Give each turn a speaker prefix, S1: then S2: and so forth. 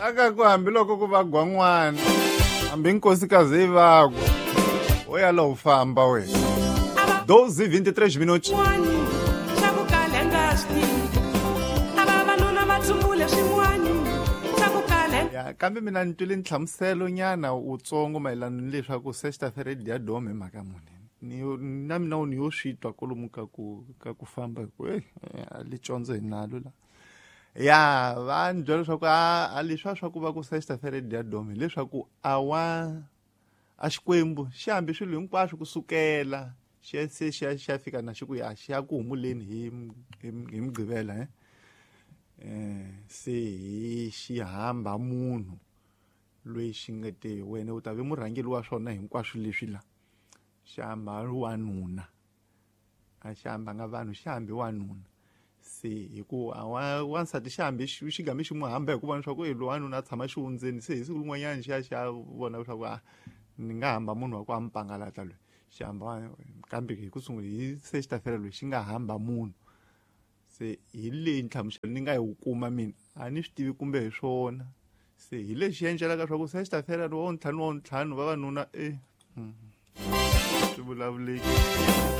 S1: Aka ku hambiloko ku va gwan'wana, hambi nkosikazi yi vakwa, wo ya lo famba wena. 12:23 minutos.
S2: Swa ku kala nga swi tivi, a vavanuna va tsumbule swin'wani swa ku kala.
S1: Ya, kambe mina ni twile nhlamuselo nyana wutsongo mayelana ni leswaku sexta-feira dia dome hi mhaka muni. Ni na mina ni yo swi twa kwalomu ka ku famba hi ku a li condzo hi nalo la. Ya, va ni byela leswaku a leswiya swa ku va ku sexta-feira dia dome hileswaku a wa a Xikwembu xi hambi swilo hinkwaswo kusukela xi ya se xi ya fika na xi ku ya xi ya ku humuleni hi Mugqivela, se hi xi hamba munhu loyi xi nga te wena u ta ve murhangeri wa swona hinkwaswo leswi la xi hamba wanuna, a xi hambanga vanhu, xi hambi wanuna. Se hi ku a wa wansati xi hambi xi game xi n'wi hamba hi ku vona leswaku e loyi wanuna a tshama xihundzeni. Se hi siku rin'wanyana xi ya vona leswaku a ni nga hamba munhu wa ku a mi pangalata loyi xi hamba, kambe hi ku sungula hi sexta-feira loyi xi nga hamba munhu. Se hi leyi nhlamuselo ni nga yi kuma, mina a ni swi tivi kumbe hi swona. Se hi lexi endlelaka swa ku sexta-feira wa ntlhanu wa ntlhanu vavanuna e swi vulavuleki.